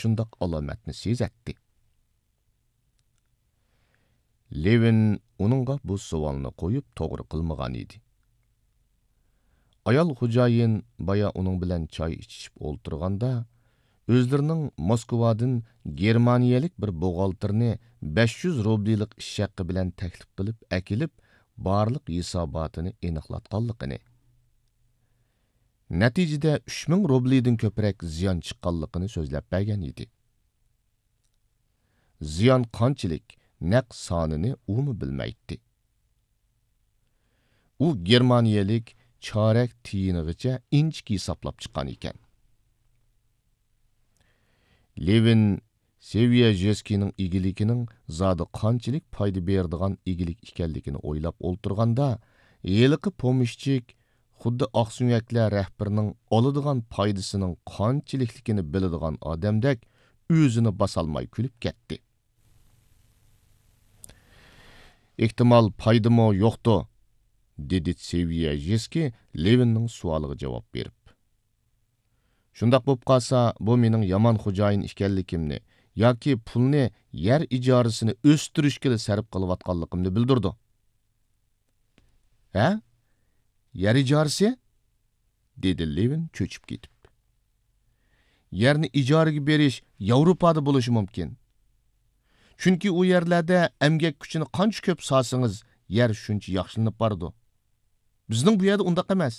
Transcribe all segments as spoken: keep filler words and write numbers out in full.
شۇنداق ئالامەتنى سېزەتتى. لېۋىن ئۇنىڭغا بۇ سوئالنى قويۇپ توغرا قىلمىغان ئىدى. ئايال خوجايىن بايا ئۇنىڭ بىلەن چاي ئىچىشىپ ئولتۇرغاندا، ئۆزلىرىنىڭ موسكۋادىن گېرمانىيەلىك بىر بوغالتىرنى بەش يۈز روبلىلىق ئىش ھەققى بىلەن تەكلىپ قىلىپ ئەكېلىپ، بارلىق ھېساباتىنى ئېنىقلاتقانلىقىنى، نەتىجىدە ئۈچ مىڭ روبلىدىن كۆپرەك زىيان چىققانلىقىنى سۆزلەپ بەرگەن ئىدى. زىيان قانچىلىك، نەق سانىنى ئۇمۇ بىلمەيتتى. ئۇ گېرمانىيەلىك چارەك تىيىنىغىچە ئىنچىكە ھېسابلاپ چىققان ئىكەن. لېۋىن سېۋيەژېسكىنىڭ ئىگىلىكىنىڭ زادى قانچىلىك پايدا بېرىدىغان ئىگىلىك ئىكەنلىكىنى ئويلاپ ئولتۇرغاندا، ھېلىقى پومېشچىك خۇددى ئاقسۆڭەكلەر رەھبىرىنىڭ ئالىدىغان پايدىسىنىڭ قانچىلىكلىكىنى بىلىدىغان ئادەمدەك ئۆزىنى باسالماي كۈلۈپ كەتتى. ئېھتىمال پايدىمۇ يوقتۇ، دېدى سېۋيەژېسكى لېۋىننىڭ سوئالىغا جاۋاب بېرىپ. شۇنداق بولۇپ قالسا، بۇ مېنىڭ يامان خوجايىن ئىكەنلىكىمنى ياكى پۇلنى يەر ئىجارىسىنى ئۆستۈرۈشكىلا سەرپ قىلىۋاتقانلىقىمنى بىلدۈرىدۇ. ھە؟ يەر ئىجارىسى؟ دېدى لېۋىن چۆچۈپ كېتىپ. يەرنى ئىجارىگە بېرىش ياۋروپادا بولۇشى مۇمكىن. چۈنكى ئۇ يەرلەردە ئەمگەك كۈچىنى قانچە كۆپ سالسىڭىز، يەر شۇنچە ياخشىلىنىپ بارىدۇ. بىزنىڭ بۇ يەردە ئۇنداق ئەمەس.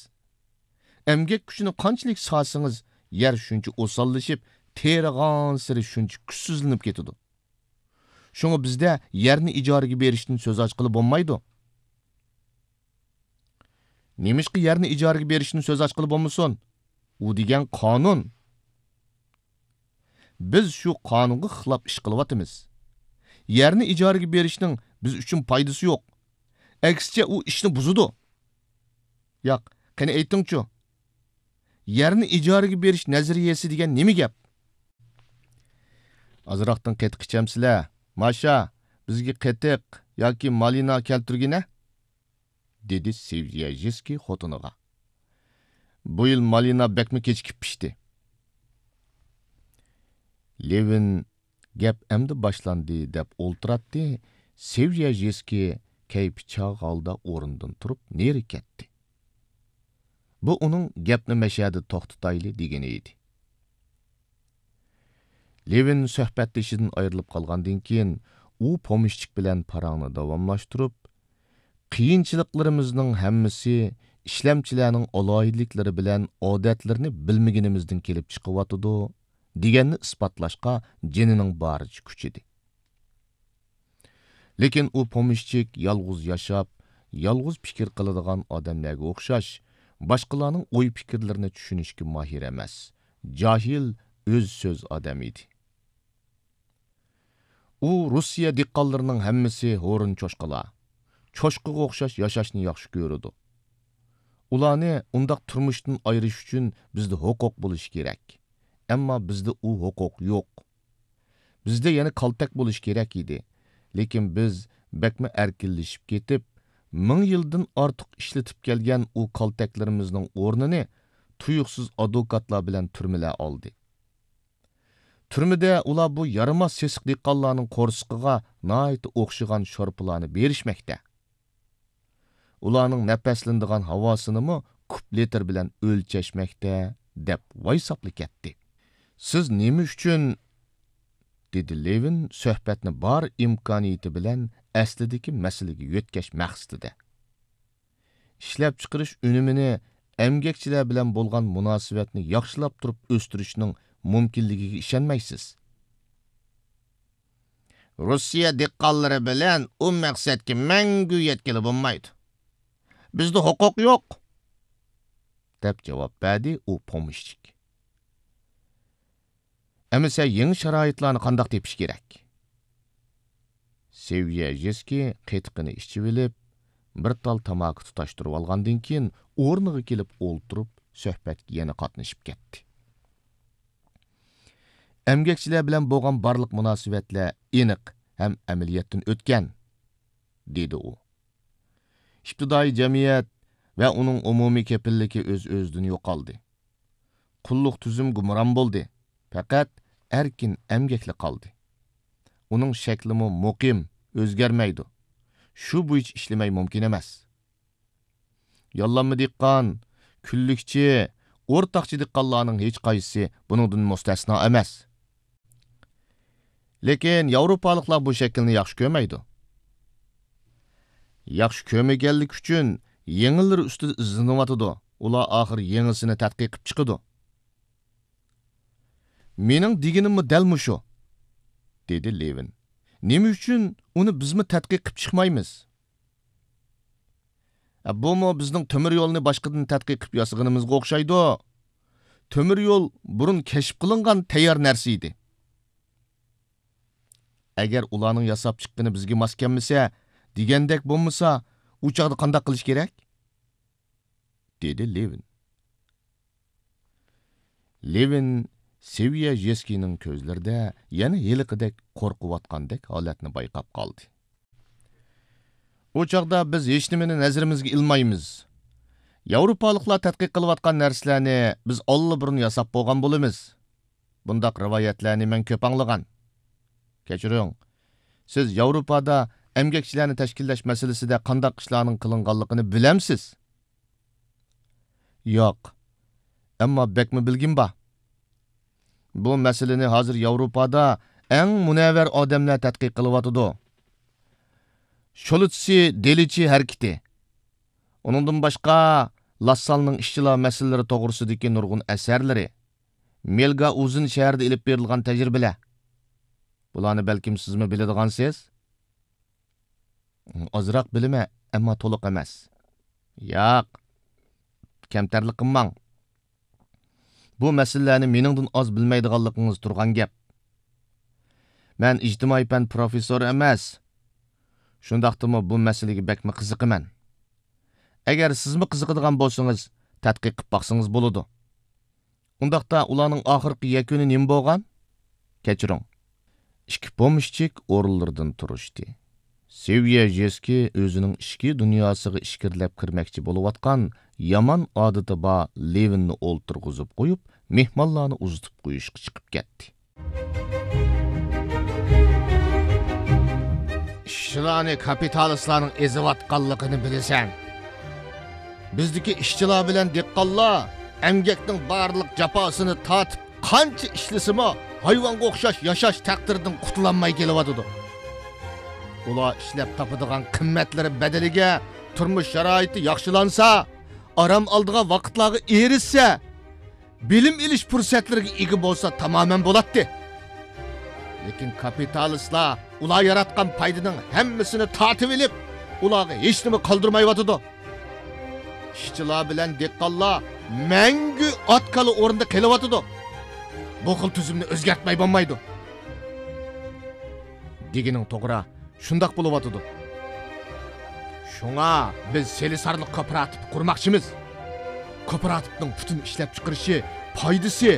ئەمگەك كۈچىنى قانچىلىك سالسىڭىز، يەر شۇنچە ئوساللىشىپ، تېرىغانسېرى شۇنچە كۈچسىزلىنىپ كېتىدۇ. شۇڭا بىزدە يەرنى ئىجارىگە بېرىشتىن سۆز ئاچقىلى بولمايدۇ. نېمىشقا يەرنى ئىجارىگە بېرىشتىن سۆز ئاچقىلى بولمىسۇن؟ ئۇ دېگەن قانۇن. بىز شۇ قانۇنغا خىلاپ ئىش قىلىۋاتىمىز. يەرنى ئىجارىگە بېرىشنىڭ بىز ئۈچۈن پايدىسى يوق. ئەكسىچە، ئۇ ئىشنى بۇزىدۇ. ياق، قېنى ئېيتىڭچۇ، يەرنى ئىجارىگە بېرىش نەزەرىيەسى دېگەن نېمە گەپ؟ ئازراقتىن قېتىق ئىچەمسىلەر؟ ماشا، بىزگە قېتىق ياكى مالىنا كەلتۈرگىنە، دېدى سېۋيەژېسكىي خوتۇنىغا. بۇ يىل مالىنا بەكمۇ كېچىكىپ پىشتى. لېۋىن گەپ ئەمدى باشلاندى دەپ ئولتۇراتتى، سېۋيەژېسكىي كەيپى چاغ ھالدا ئورنىدىن تۇرۇپ نېرى كەتتى. بۇ ئۇنىڭ گەپنى مەشەدە توختىتايلى دېگىنى ئىدى. لېۋىن سۆھبەتدىشىدىن ئايرىلىپ قالغاندىن كېيىن، ئۇ پومېشچىك بىلەن پاراڭنى داۋاملاشتۇرۇپ، قىيىنچىلىقلىرىمىزنىڭ ھەممىسى ئىشلەمچىلەرنىڭ ئالاھىدىلىكلىرى بىلەن ئادەتلىرىنى بىلمىگىنىمىزدىن كېلىپ چىقىۋاتىدۇ، دېگەننى ئىسپاتلاشقا جېنىنىڭ بارىچە كۈچىدى. لېكىن ئۇ پومېشچىك يالغۇز ياشاپ، يالغۇز پىكىر قىلىدىغان ئادەملەرگە ئوخشاش، باشقىلارنىڭ ئوي-پىكىرلىرىنى چۈشىنىشكە ماھىر ئەمەس، جاھىل، ئۆز سۆز ئادەم ئىدى. ئۇ روسىيە دېھقانلىرىنىڭ ھەممىسى ھورۇن چوشقىلار، چوشقىغا ئوخشاش ياشاشنى ياخشى كۆرىدۇ. ئۇلارنى ئۇنداق تۇرمۇشتىن ئايرىش ئۈچۈن بىزدە ھوقۇق بولۇشى كېرەك. ئەمما بىزدە ئۇ ھوقۇق يوق. بىزدە يەنە كالتەك بولۇشى كېرەك ئىدى. لېكىن بىز بەكمۇ ئەركىنلىشىپ كېتىپ، مىڭ يىلدىن ئارتۇق ئىشلىتىپ كەلگەن ئۇ كالتەكلىرىمىزنىڭ ئورنىنى تۇيۇقسىز ئادۋوكاتلار بىلەن تۈرمىلەر ئالدى. تۈرمىدە ئۇلار بۇ يارىماس سېسىق دېھقانلارنىڭ قورسىقىغا ناھايىتى ئوخشىغان شورپىلارنى بېرىشمەكتە. ئۇلارنىڭ نەپەسلىنىدىغان ھاۋاسىنىمۇ كۇپ لىتىر بىلەن ئۆلچەشمەكتە، دەپ ۋايساپلا كەتتى. سىز نېمە ئۈچۈن؟ دېدى لېۋىن سۆھبەتنى بار ئىمكانىيىتى بىلەن ئەسلىدىكى مەسىلىگە يۆتكەش مەقسىتىدە. ئىشلەپچىقىرىش ئۈنۈمىنى ئەمگەكچىلەر بىلەن بولغان مۇناسىۋەتنى ياخشىلاپ تۇرۇپ ئۆستۈرۈشنىڭ مۇمكىنلىكىگە ئىشەنمەيسىز. روسىيە دېھقانلىرى بىلەن ئۇ مەقسەتكە مەڭگۈ يەتكىلى بولمايدۇ. بىزدە ھوقۇق يوق، دەپ جاۋاب بەردى ئۇ پومېشچىك. ئەمىسە يېڭى شارائىتلارنى قانداق تېپىش كېرەك؟ سېۋيەژېسكىي قېتىقىنى ئىچىۋېلىپ، بىر تال تاماكا تۇتاشتۇرۇۋالغاندىن كېيىن، ئورنىغا كېلىپ ئولتۇرۇپ، سۆھبەتكە يەنە قاتنىشىپ كەتتى. ئەمگەكچىلەر بىلەن بولغان بارلىق مۇناسىۋەتلەر ئېنىق ھەم ئەمەلىيەتتىن ئۆتكەن، دېدى ئۇ. ئىپتىدائىي جەمئىيەت ۋە ئۇنىڭ ئومۇمىي كېپىللىكى ئۆز-ئۆزىدىن يوقالدى. قۇللۇق تۈزۈم گۇمران بولدى. پەقەت ئەركىن ئەمگەكلا قالدى. ئۇنىڭ شەكلىمۇ مۇقىم، ئۆزگەرمەيدۇ. شۇ بويىچە ئىشلىمەي مۇمكىن ئەمەس. ياللانما دېھقان، كۈنلۈكچى، ئورتاقچى دېھقانلارنىڭ ھېچقايسىسى بۇنىڭدىن مۇستەسنا ئەمەس. لېكىن ياۋروپالىقلار بۇ شەكىلنى ياخشى كۆرمەيدۇ. ياخشى كۆرمىگەنلىكى ئۈچۈن يېڭىلىرى ئۈستىدە ئىزدىنىۋاتىدۇ. ئۇلار ئاخىر يېڭىسىنى تەتقىق قىلىپ چىقىدۇ. مېنىڭ دېگىنىممۇ دەل مۇشۇ، دېدى لېۋىن. نېمە ئۈچۈن ئۇنى بىزمۇ تەتقىق قىلىپ چىقمايمىز؟ ئە، بۇمۇ بىزنىڭ تۆمۈر يولنى باشقىدىن تەتقىق قىلىپ ياسىغىنىمىزغا ئوخشايدۇ. تۆمۈر يول بۇرۇن كەشىپ قىلىنغان تەييار نەرسە ئىدى. ئەگەر ئۇلارنىڭ ياساپ چىققىنى بىزگە ماس كەلمىسە، دېگەندەك بولمىسا، ئۇ چاغدا قانداق قىلىش كېرەك؟ دېدى لېۋىن. لېۋىن سېۋيە ژېسكىنىڭ كۆزلىرىدە يەنە ھېلىقىدەك قورقۇۋاتقاندەك ھالەتنى بايقاپ قالدى. ئۇ چاغدا بىز ھېچنېمىنى نەزىرىمىزگە ئىلمايمىز. ياۋروپالىقلار تەتقىق قىلىۋاتقان نەرسىلەرنى بىز ئاللىبۇرۇن ياساپ بولغان بولىمىز. بۇنداق رىۋايەتلەرنى مەن كۆپ ئاڭلىغان. كەچۈرۈڭ، سىز ياۋروپادا ئەمگەكچىلەرنى تەشكىللەش مەسىلىسىدە قانداق ئىشلارنىڭ قىلىنغانلىقىنى بىلەمسىز؟ ياق، ئەمما بەكمۇ بىلگۈم بار. بۇ مەسىلىنى ھازىر ياۋروپادا ئەڭ مۇنەۋۋەر ئادەملەر تەتقىق قىلىۋاتىدۇ. شولتسى دېلىچى ھەرىكىتى. ئۇنىڭدىن باشقا، لاسسالنىڭ ئىشچىلار مەسىلىلىرى توغرىسىدىكى نۇرغۇن ئەسەرلىرى، مېلگاۋزېن شەھىرىدە ئېلىپ بېرىلغان تەجرىبىلەر. بۇلارنى بەلكىم سىزمۇ بىلىدىغانسىز؟ ئازراق بىلىمەن، ئەمما تولۇق ئەمەس. ياق، كەمتەرلىك قىلماڭ. بۇ مەسىلىلەرنى مېنىڭدىن ئاز بىلمەيدىغانلىقىڭىز تۇرغان گەپ. مەن ئىجتىمائىي پەن پروفېسسورى ئەمەس. شۇنداقتىمۇ بۇ مەسىلىگە بەكمۇ قىزىقىمەن. ئەگەر سىزمۇ قىزىقىدىغان بولسىڭىز، تەتقىق قىلىپ باقسىڭىز بولىدۇ. ئۇنداقتا ئۇلارنىڭ ئاخىرقى يەكۈنى نېمە بولغان؟ كەچۈرۈڭ. ئىككى پومېشچىك ئورۇنلىرىدىن تۇرۇشتى. سېۋيەژېسكى ئۆزىنىڭ ئىچكى دۇنياسىغا ئىچكىرىلەپ كىرمەكچى بولۇۋاتقان يامان ئادىتى بار لېۋىننى ئولتۇرغۇزۇپ قويۇپ، مېھمانلارنى ئۇزىتىپ قويۇشقا چىقىپ كەتتى. ئىشچىلارنى كاپىتالىستلارنىڭ ئېزىۋاتقانلىقىنى بىلىسەن. بىزدىكى ئىشچىلار بىلەن دېھقانلار ئەمگەكنىڭ بارلىق جاپاسىنى تارتىپ، قانچە ئىشلىسىمۇ، ھايۋانغا ئوخشاش ياشاش تەقدىرىدىن قۇتۇلالماي كېلىۋاتىدۇ. ئۇلار ئىشلەپ تاپىدىغان قىممەتلىرى بەدىلىگە تۇرمۇش شارائىتى ياخشىلانسا، ئارام ئالىدىغان ۋاقىتلارغا ئېرىشسە، بىلىم ئېلىش پۇرسەتلىرىگە ئىگە بولسا تامامەن بولاتتى. لېكىن كاپىتالىستلار ئۇلار ياراتقان پايدىنىڭ ھەممىسىنى تارتىۋېلىپ، ئۇلارغا ھېچنېمە قالدۇرمايۋاتىدۇ. ئىشچىلار بىلەن دېھقانلار مەڭگۈ ئات-كالا ئورنىدا قېلىۋاتىدۇ. بۇ خىل تۈزۈمنى ئۆزگەرتمەي بولمايدۇ. دېگىنىڭ توغرا، شۇنداق بولۇۋاتىدۇ. شۇڭا بىز سېلىسارلىق كوپىراتىپى قۇرماقچىمىز. كوپىراتىپنىڭ پۈتۈن ئىشلەپچىقىرىشى، پايدىسى،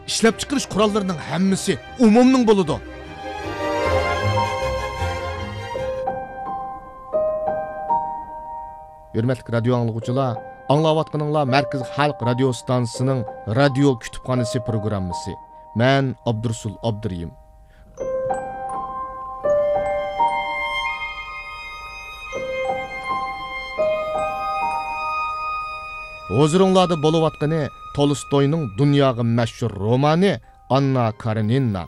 ئىشلەپچىقىرىش قوراللىرىنىڭ ھەممىسى ئومۇمنىڭ بولىدۇ. ھۆرمەتلىك رادىيو ئاڭلىغۇچىلار، ئاڭلاۋاتقىنىڭلار مەركىزىي خەلق رادىيو ستانسىسىنىڭ رادىيو كۇتۇپخانىسى پروگراممىسى. مەن ئابدۇرۇسۇل ئابدۇرېھىم. ھۇزۇرۇڭلاردا بولۇۋاتقىنى تولستوينىڭ دۇنياغا مەشھۇر رومانى ئاننا كارېنىنا.